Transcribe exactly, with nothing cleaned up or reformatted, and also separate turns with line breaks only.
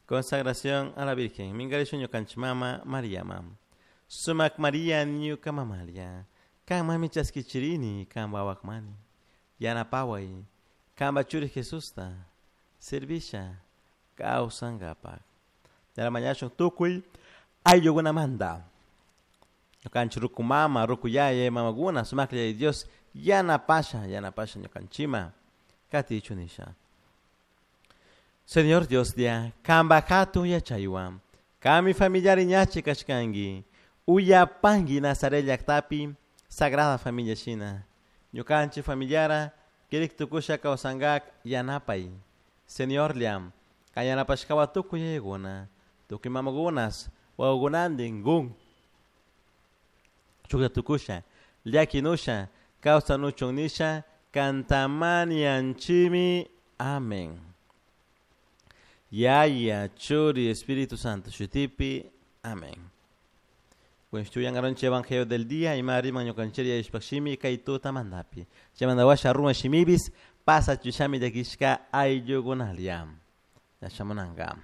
Consagración a la Virgen. Mingarishun ñukanchik mama Mariama. Sumak Maria ñuka mamalia. Kan mami chaskichirini kan wawakmani. Yanapaway. Kanpa churi Jesusta. Servisha. Kawsankapak. Mañashun tukuy ayllukunamanta. Ñukanchik ruku mama, ruku yaya, mamakuna, sumaklla Dios yanapasha, yanapasha ñukanchikman. Katichun nisha. Señor Dios dia, kanpa hatun yachaywan, kami familiari ñachi kashkanki, uyapanki Nazaret llaktapi, Sagrada Familia shina. Ñukanchik familiara, kirik tukusha kawsankak yanapay. Señor liam, kan yanapashkawa tukuy yayakuna, tukuy mamakunas, wawakunantin gun. Chuklla tukusha, llakinusha, kawsanuchun nisha, kantamanianchimi. Amén. Yaya, Churi, Espíritu Santo, Shutipi. Amén. Evangelio del día y mari ñukanchik ishpashimi kay tutamantapi. Chaymanta washa runa shimibis pasa chushami llakishka ayllukunalia. Yashamunanka.